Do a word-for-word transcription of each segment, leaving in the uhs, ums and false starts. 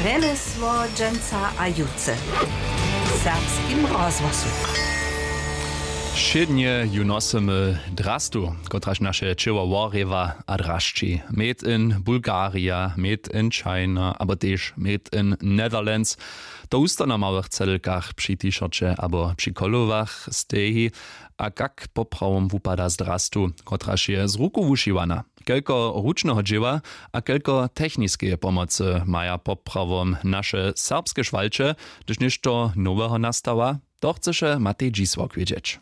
Rjemjesło dźensa a jutře w serbskim rozhłosu. Wšědnje ju nosymy drastu, kotraž naše ćěło worjewa a drasći. Made in Bulgaria, made in China abo tež made in Netherlands. To husto na małych cedelkach při t-shirće abo při kolowach steji. A kak poprawom wupada z drastu, kotraž je z ruku wušiwana? Kelko ručneho dźěła a kelko techniskeje pomocy maja poprawom naše serbske šwalće, hdyž něšto noweho nastawa? To chcyše Matej Dźisłok wědźeć.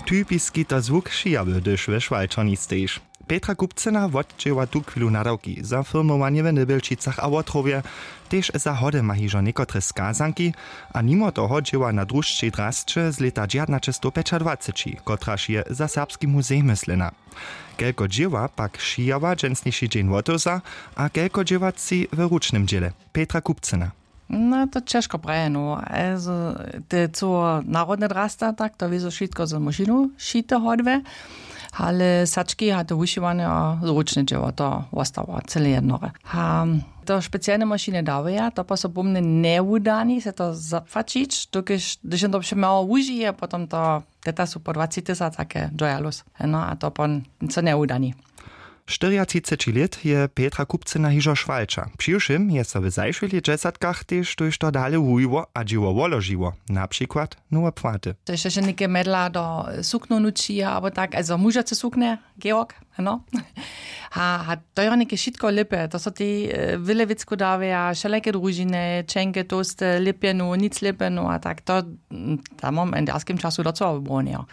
Typiski to zwuk šijawy, hdyž we šwalčerni stejiš. Petra Kupcyna wotdźěła tuchwilu nadawki za firmowanje w Nybjelčicach a Wotrowje. Tež za hody ma hižo někotre skazanki. A nimo toho dźěła na drušćej drasće z lěta dźewjatnaćestowpjećadwaceći, kotraž je za Serbski muzej myslena. Kelko dźěła pak šijała dźensniši dźeń wotewza, a kelko dźěła tři w ručnym dźěle? Petra Kupcyna. No to ćežko prajeno, also te cyło narodne drasta, tak to wězo wšitko z mašinu šite hodwe. Ale sački a to wušiwanje a zručne dźěło, to wostawa cyle jednore. A to specialne mašiny dawaja, to po so pomnje njewudani se to zapłaćić, dokelž hdyž jen to přemało wužije, potom to teta su po dwaci tysac take joyalus. No a to pon co njewudani. Štyriatřiceći lět je Petra Kupcyna hižo šwalča. Přiwšěm je so w zašłych lětdźesatkach tež tójšto dale wujiło a dźěło woložiło, na přikład nowe płaty. To je še něke medla do suknow nuči abo tak, also mužace suknje, georg, no. A, a to je něke wšitko lěpe, to so tej wjele wěcku dawja, wšelake družiny, čenke, tołste, lěpjenu, nic lěpjenu a tak to, tam mam w darskim času docyła wybrownejo.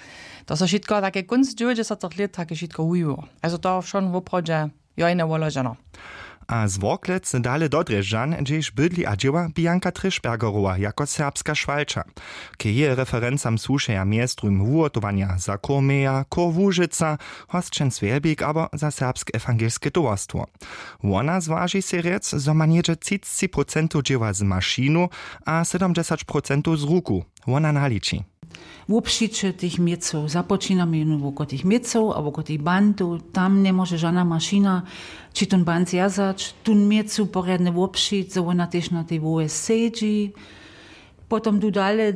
To so wšitko take kónc dźewjećdźesatych lět take wšitko wujiło, also to wšon woprawdźe jo jene woloženo. A z Worklec dale do Drježdźan, hdźež bydli a dźěła Bianka Trišbergerowa jako serbska šwalča. K jeje referencam słušeja mjez druhim wuhotowanja za Kurmeja, Kur Łužica, Hosćen Swjelbik abo za Serbske ewangelske towarstwo. Wona zwaži sej rjec, zo ma něhdźe třicci procentow dźěła z mašinu a sydomdźesać procentow z ruku. Wona naliči. Wobšiće tych měcow, započinamy jónu woko tych měcow a woko tych bantow, tam njemóže žana mašina ći tón bant zwjazać, tón měcu porjadnje wobšić, zo wona tež na tej wołje sedźi. Potom du dale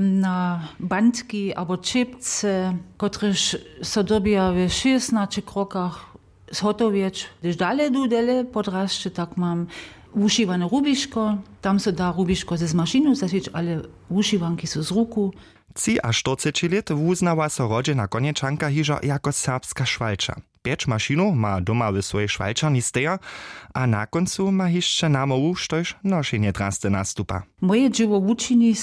na bantki abo čěpce, kotrež so dyrbja w šěsnaće krokach zhotowjeć. Hdyž dale du dele podrasće, tak mam wušiwane rubiško, tam so da rubiško z mašinu zašić, ale wušiwanki su z ruku. Třiaštyrceći lět wuznała so rodźena konječanka hižo jako serbska šwalča. Pjeć mašinow ma doma w swojej šwalčerni steja. A na kóncu ma hišće namołwu, štož nošenje drasty nastupa. Moje dźěło wučini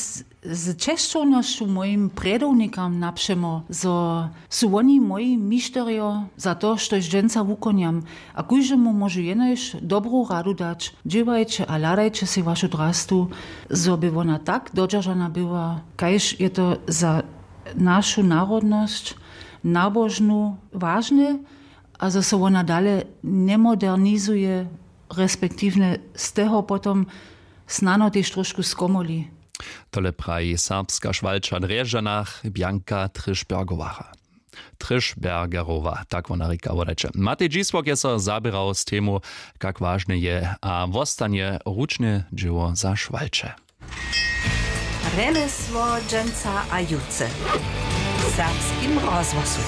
z česćownosću mojim prjedownikam napřemo, zo su woni moji mišterjo za to, štož dźensa wukonjam. A kóždemu móžu jenož dobru radu dać: dźěłajće a hladajće sej wašu drastu, zo by wona tak dodźeržana była, kaž je to za našu narodnosć nabožnu wažne, a zo so wona dale njemodernizuje, respektiwnje z toho potom snano tež trošku skomoli. Tole praji serbska šwalča w Drježdźanach Bianka Trišbergowacha. Trišbergerowa, tak wona rěka, wodajće. Matej Dźisłok je so zaběrał z temu, kak wažne je a wostanje ručne dźěło za šwalče. Rjemjesło dźensa a jutře w serbskim rozhłosu.